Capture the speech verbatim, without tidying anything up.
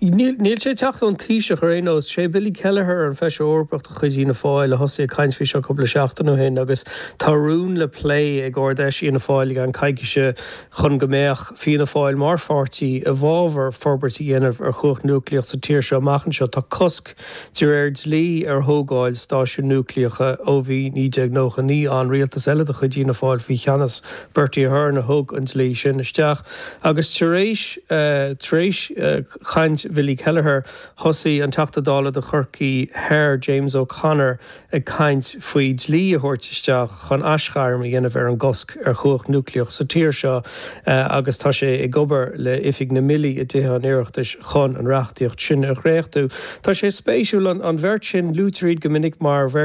Níl sé ag teacht ón Taoiseach ar aon nós. Sé Billy Kelleher, an Feisire Eorpach de chuid Fhianna Fáil, a thosaigh ag caint faoi seo cúpla seachtain ó shin agus tá rún le plé ag Ard-Fheis Fhianna Fáil i gceann coicíse chun go mbeadh Fianna Fáil mar pháirtí i bhfabhar forbairt a dhéanamh ar chumhacht núicléach sa tír seo amach anseo. Tá cosc de réir dlí ar thógáil stáisiún núicléacha ó bhí naoi déag nócha naoi ann. Rialtas eile de chuid Fhianna Fáil faoi cheannas Bertie Ahern a thug an dlí sin isteach agus tar éis tar éis chaint Bhilly Kelleher, thosaigh an Teachta Dála do Chorcaigh Thoir, James O'Connor, ag caint faoi dlí a thabhairt isteach chun aisghairm a dhéanamh ar an gcosc ar chumhacht núicléach sa tír seo agus tá sé ag obair le Oifig na mBillí i dTithe an Oireachtais chun an reachtaíocht sin a dhréachtú. Tá sé spéisiúil an bheirt sin, luaitear iad go minic mar bheirt